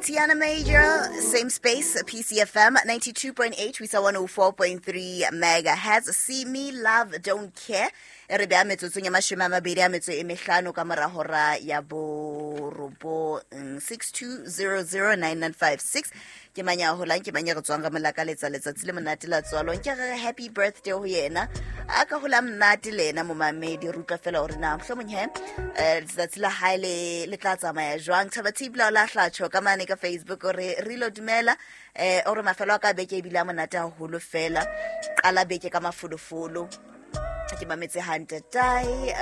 Tiana Major, same space, PCFM 92.8, we saw 104.3 megahertz. See me, love, don't care. E re beha metsotsong ya mashome a mabedi a metso e mehlano ka mora hora ya borobong. 62009956 ke mang ya holang, ke mang ya re tswang re mo lakaletsa letsatsi le monate la tswalo. Nke re re happy birthday ho yena, a ka hola monate le yena momamedi. Re utlwa fela hore na mohlomong he letsatsi la hae le le tla tsamaya jwang. Thaba Thibla o la hlatjho ka mane ka Facebook o re re ilo dumela, o re mafelo a ka beke ebile a monate haholo fela. Qala beke ka mafolofolo, ke mametse hantle tae.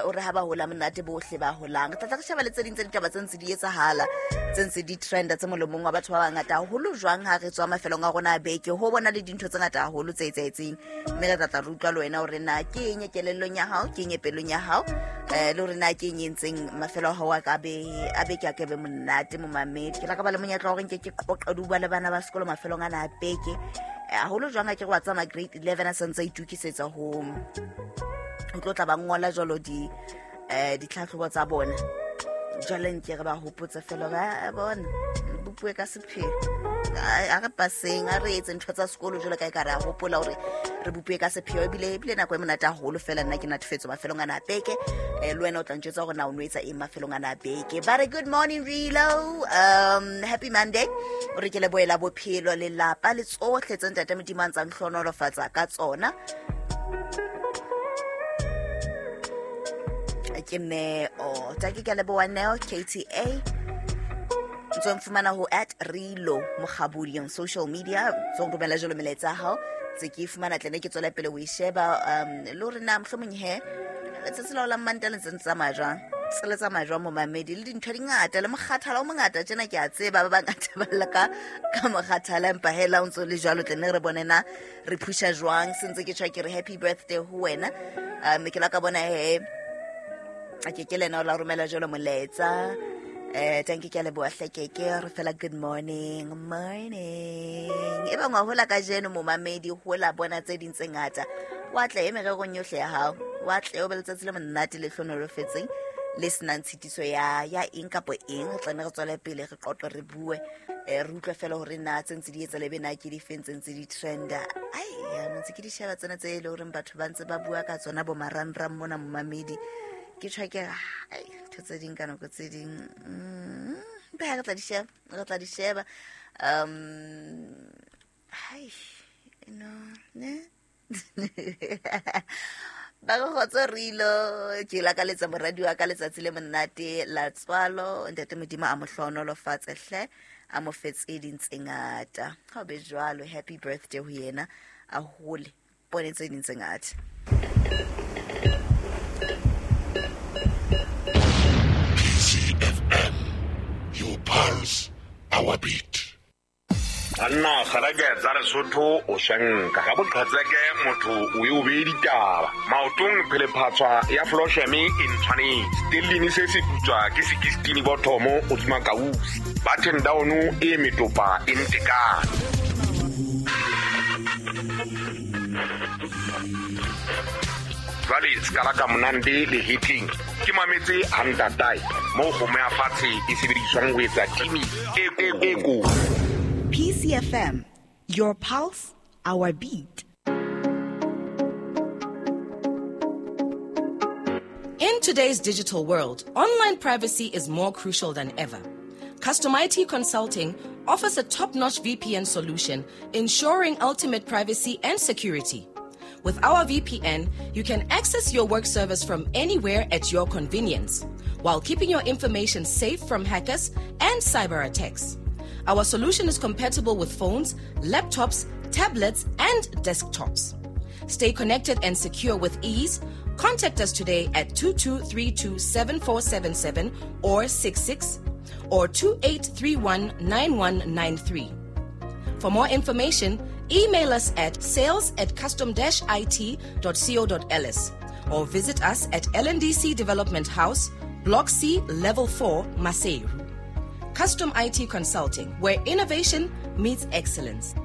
O re ha ba hola monate bohle ba holang. Re tla tla re sheba le tse ding tsa ditaba tse ntse di etsahala, tse ntse di trenda, tse molomong wa batho ba bangata haholo jwang ha re tswa mafelong a rona a beke. Ho bona le dintho tse ngata haholo tse etsahetseng, mme re tla tla re utlwa le wena hore na ke eng e kelellong ya hao, ke eng e pelong ya hao, le hore na ke eng e entseng mafelo a hao a ka be a beke a ke be monate. Momamedi, ke la ka ba le monyetla wa hore nke ke qoqe le bua le bana ba sekolo mafelong ana a beke haholo jwang. A ke re wa tsamaya grade 11 a santse a itokisetsa ho tlo tla ba ngola jwalo di ditlhatlhobo tsa bona. Jwale nke re ba hopotse fela hore a bona bopuwe ka sepheo, a re paseng, a re etse ntho tsa sekolo jwalo ka e ka re a hopola hore re bopuwe ka sepheo. Ebile nako e monate haholo fela. Nna ke natefetswe mafelong ana a beke. Le wena o tla ntjwetsa hore na o no etsa eng mafelong ana a beke. Ba re good morning Rilo, happy Monday. O re ke lebohela bophelo, lelapa le tsohle tse ntate Modimo a ntsang hlohonolofatsa ka tsona. Ke Neo take, ke a leboha Neo KTA. Ntse mfumana ho at Rilo Mokgabudi on social media, tso romela jalo melaetsa ya hao tse ke e fumana tlene ke tswela pele ho e sheba. Le hore na mohlomong he letsatsi la ho la Mmanta le ntse ntse tsamaya jwang, se le tsamaya jwang momamedi, le dintho di ngata le mokgathala o mongata tjena. Ke a tseba ba bangata ba lla ka mokgathala, empa hela o ntso le jwalo tlene re bone na re phusha jwang. Se ntse ke tjho ke re happy birthday ho wena. Ke la ka bona he a ke ke lena o la romela jalo molaetsa. Tanki, ke a leboha hle. Ke re fela good morning, morning. E bang wa hola kajeno momamedi, hola bona tse ding tse ngata, wa tle e mererong yohle ya hao, wa tle o be letsatsi le monate le hlonolofetseng le senang tshitiso ya eng kapo eng. Re tlane re tswele pele re qoqe, re bue, re utlwe fela hore na tse ntse di etsa lebe na ke difeng tse ntse di trenda. Ai ya ntse ke di sheba tsena tse e le horeng batho ba ntse ba bua ka tsona bo marangrang mona momamedi. Ke tjho ke re, ai ntho tse ding ka nako tse ding, ba re tla di sheba, re tla di sheba. Hai no ne ba re kgotso Rilo, ke lakaletsa moradi wa ka letsatsi le monate la tswalo. Ntate Modimo a mo hlohonolofatse hle, a mo fe tse ding tse ngata. Ha o be jwalo, happy birthday ho yena, a hole bone tse ding tse ngata. PCFM, your pulse, our beat. Banna kgereke tsa Lesotho o shenka ka boqhetseke, motho o e o bee ditaba maotong. Phelephatswa ya flosheme e ntshwanetse stellini se se putswa ke sekistini bothomo o tsuma kausi button down e metopa e ntekane. Jwale se ka la ka monande le hitling ke mametse hantatae moo kgomo ya fatshe e sebediswang ho etsa timi e ko. PCFM, your pulse, our beat. In today's digital world, online privacy is more crucial than ever. Custom IT Consulting offers a top-notch VPN solution, ensuring ultimate privacy and security. With our VPN, you can access your work servers from anywhere at your convenience, while keeping your information safe from hackers and cyber attacks. Our solution is compatible with phones, laptops, tablets, and desktops. Stay connected and secure with ease. Contact us today at 2232-7477 or 66 or 2831-9193. For more information, email us at sales@custom-it.co.ls or visit us at LNDC Development House, Block C, Level 4, Maseru. Custom IT Consulting, where innovation meets excellence.